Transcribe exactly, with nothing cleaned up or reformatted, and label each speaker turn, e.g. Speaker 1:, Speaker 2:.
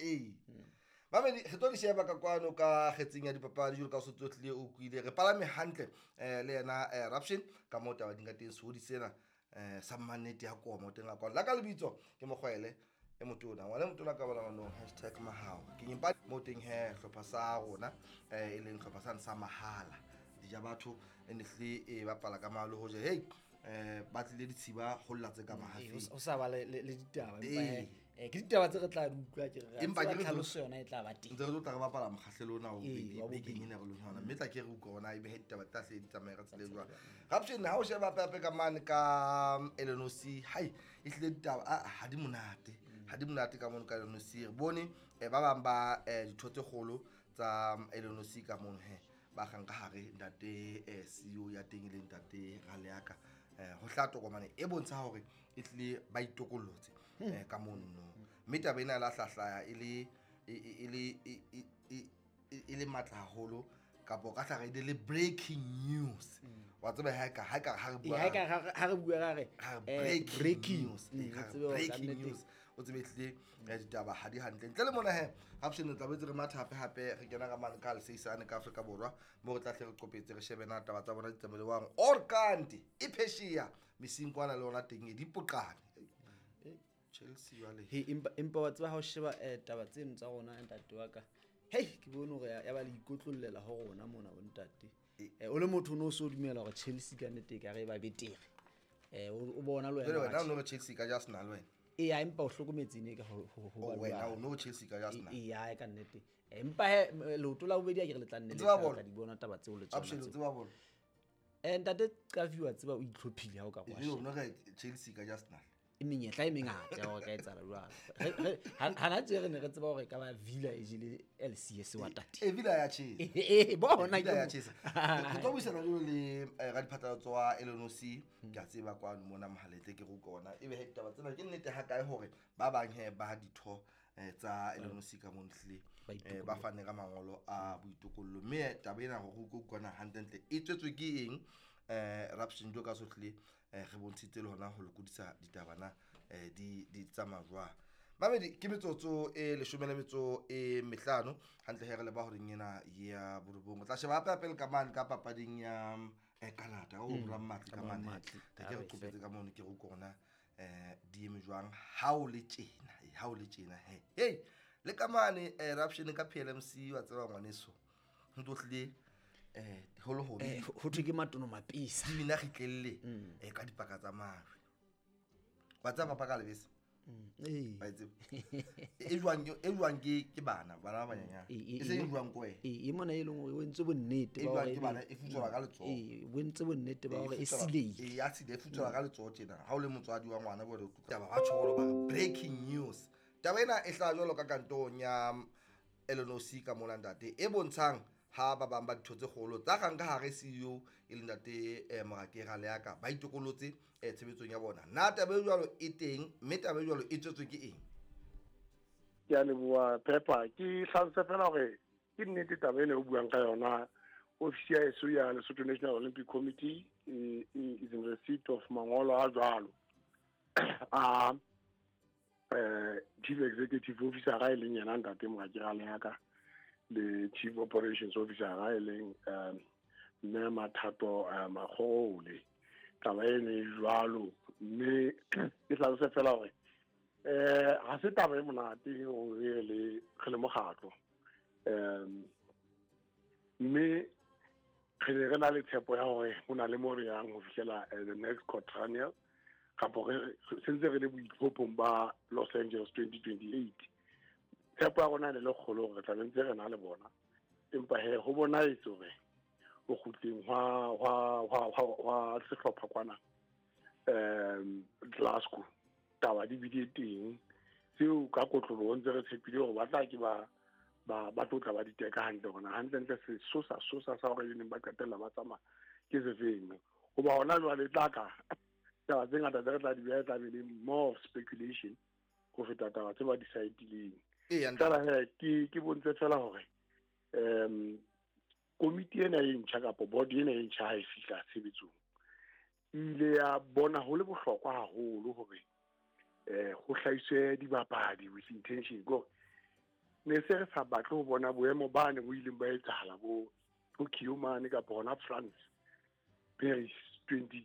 Speaker 1: Ee, mamedi, re tlo di sheba ka kwano ka kgetseng ya dipapadi jwalo ka o se tsotlile o kwile re palame hantle um le yena um Raption ka moo taba di ka teng sehodi sena um sa mannete ya koma o teng a kwano la ka lebitso ke Mokgwele e motona ngwana e motona ka bona ngwanong hashtag mahao ke nyempa mo teng he hlopha sa rona um e leng hlopha sane sa mahala dija batho e ne hlile e bapala ka mahalo hoje hei um ba tlile ditshiba ho lla tse ka
Speaker 2: Ee, ho
Speaker 1: mahafeng.
Speaker 2: sa- ho sa ba le le- le ditaba, empa
Speaker 1: Ee.
Speaker 2: he, eh, ke ditaba tse re tla di utlwa ke re re a
Speaker 1: Empa
Speaker 2: tseba
Speaker 1: ke re
Speaker 2: tlhaloso yona e tla ba teng.
Speaker 1: Ntse re tlo tla re bapala mokgahlelo ona o
Speaker 2: Ee,
Speaker 1: beke-
Speaker 2: wa bobedi.
Speaker 1: Bekeng ena re leng ho yona, mme tla ke re utlwe hore na ebe he ditaba tla hle di tsamaye ka tsela e jwang. Raption, ha o sheba hape ka mane ka L N O C, hai, e hlile ditaba ah, ha di monate, ha di monate ka mono ka L N O C. Re bone eh, ba bang ba eh, ditho tse kgolo tsa L N O C ka mono he ba kgang ka hare ntate eh, C E O ya teng e leng ntate Raleaka, eh, ho hlaha tokomane e bontsha hore e hlile ba itokollotse eh, ka mono, mme taba ena e la hlahlaya e le e e- e le e- e- e- e- e le matla haholo kapo ka hlare e le breaking news wa tseba ha ka ha ka ha re
Speaker 2: Ee,
Speaker 1: bua
Speaker 2: ha e ka ha re- ha re bua ra re
Speaker 1: ha re
Speaker 2: eh,
Speaker 1: breaking
Speaker 2: breaking
Speaker 1: news.
Speaker 2: Mm,
Speaker 1: Eh,
Speaker 2: re
Speaker 1: ha re
Speaker 2: tsebe hore ka
Speaker 1: breaking
Speaker 2: nnete.
Speaker 1: news, o tsebe ehlile eh, ditaba ha di hantle ntle le mona he Raption re tlabetse re matha hape hape re kena ka mane ka leseisane ka Afrika Borwa mo re tla hle re qopetse re shebe na taba tsa bona di tsamaelewang or kante e phesheya mesing kwana le yona teng e dipoqane. Eh, Chelsea jwale.
Speaker 2: He, empa empa wa tseba ha o sheba eh, taba tseno tsa rona, ntate wa ka, hei, ke bone hore ya ya ba le ikotlollela ho rona mona bo ntate. Eh, o le motho o no so dumela hore Chelsea ka nnete e ka re e ba betere, eh o o bona le
Speaker 1: Jwale
Speaker 2: wena
Speaker 1: wena o
Speaker 2: hore
Speaker 1: no re Chelsea ka ja Arsenal wena?
Speaker 2: Ee, empa o hlokometse ne ka ho ho- ho
Speaker 1: Oh,
Speaker 2: ba
Speaker 1: wena
Speaker 2: jwalo.
Speaker 1: o no re Chelsea ka ja Arsenal.
Speaker 2: Ee, ya ka nnete. Eh, empa he m- leoto la bobedi a ke re le tla nne le
Speaker 1: Tseba
Speaker 2: tla
Speaker 1: bolo.
Speaker 2: tla di bona taba tseo le tsona
Speaker 1: Raption, o
Speaker 2: tseo.
Speaker 1: tseba bolo?
Speaker 2: Eh, ntate Qafi, wa tseba o itlhophile ha o ka re wa
Speaker 1: Jwale o
Speaker 2: sheba.
Speaker 1: no re Chelsea ka ja Arsenal.
Speaker 2: E menyetla e mengata ya hore ka etsahala jwalo. Re- re- ha- hana tje re ne re tseba hore e ka ba Villa e jele L C S wa tate.
Speaker 1: E Villa ya tjhesa.
Speaker 2: Ee, bona
Speaker 1: Villa
Speaker 2: ke
Speaker 1: ya
Speaker 2: mo-
Speaker 1: tjhesa. Re tlo buisana jwalo le eh, radiphatlalatso wa L N O C ke a tseba kwano mona mohaletle ke re utlwe ona ebe he ditaba tsena ke nnete ha kae hore ba bang he ba ditho eh, tsa L N O C ka mono hlile
Speaker 2: Ba
Speaker 1: eh, ba fane ka mangolo a boitokollo, mme taba ena hore o utlwe hantlentle e tswetswe ke eng eh Raption jo ka sotlhe eh, re bontshitse le hona ho lokodisa ditaba na eh, di di tsamaya jwang. Mamedi, ke metsotso e leshome le metso e mehlano hantle he re leba horeng ena ya borobong. O tla sheba hape hape le ka mane ka papading ya eh, Canada o bora Matli ka mane
Speaker 2: Matli.
Speaker 1: te ke re
Speaker 2: A re
Speaker 1: qopetse ka mono ke re utlwe hore na eh di eme jwang ha o le tjena eh, ha o le tjena he hey le ka mane eh, Raption ka P L M C wa tseba ngwaneso ho ntso hlile eh ho le hobe.
Speaker 2: Eh, ho thwe ke matono mapisa.
Speaker 1: Di bina kgitlelle eh ka dipaka tsa majwe wa tseba papa ka lebese.
Speaker 2: Ee.
Speaker 1: Wa e tseba e jwang ke- e jwang ke ke bana bana ba banyenyane
Speaker 2: Ee, ee,
Speaker 1: e seng
Speaker 2: ee.
Speaker 1: e jwang ke wena.
Speaker 2: Ee, e mona e leng hore o entse bonnete
Speaker 1: E
Speaker 2: ba
Speaker 1: jwang
Speaker 2: hore
Speaker 1: ke bana, e futswelwa ka letsoho.
Speaker 2: Ee, o entse bonnete ba hore e
Speaker 1: futswelwa-
Speaker 2: sileile.
Speaker 1: Ee, ya sile, e futswelwa ka letsoho tjena ha o le motswadi wa ngwana bole taba ba tjholo ba re breaking news. Taba ena e hlaha jwalo ka kantorong ya L N O C ka mona ntate e bontshang ha ba bang ba ditho tse kgolo tsa kgang ka hare C E O e leng ntate eh, Morake Raleaka ba itokolotse eh, tshebetsong ya bona. Na taba e jwalo e teng, mme taba e jwalo e tswetswe ke eng?
Speaker 3: Ke a leboha, Pepper. Ke hlalose fela hore ke nnete taba ena o buang ka yona. Ofisi ya heso ya Lesotho National Olympic Committee e, e, is in receipt of mangolo a jwalo a eh chief executive officer e leng yena ntate Morake Raleaka le chief operations officer e leng um mme Mathato eh, Makgole. Taba ene e jwalo, mme ke hlalose fela hore eh ha se taba e monate hore re le re le mokgatlo, um mme re ne re na le tshepo ya hore ho na le mo re yang ho fihlela eh, the next quadrennial kapo re sentse re le boitlhophong ba Los Angeles twenty twenty-eight. Tshepo ya rona e ne le kgolo hore re tla be ntse re na le bona, empa he ho bonahetse hore ho kgutleng hwa hwa hwa hwa hwa sehlopha kwana um Glasgow taba di bile teng tseo ka kotloloho ntse re tshepile hore ba tla ke ba ba ba tlo tla ba di teka hantle hore na hantlentle sesosa sosa sa hore e neng ba qetella ba tsamaya ke sefeng, hoba hona jwale e tla ka taba tse ngata tse re tla di beha e tla be le more of speculation ho feta taba tse ba di saetileng.
Speaker 1: Ee, ntate.
Speaker 3: Fela he ke ke bontshe fela hore um komiti ena e ntjha kapo board ena e ntjha ha e fihla tshebetsong e ile ya bona ho le bohlokwa haholo hore eh ho hlahiswe dibapadi with intention ko Ne se re sa batle ho bona boemo bane bo ileng ba etsahala bo Tokyo mane kapa hona France, Paris twenty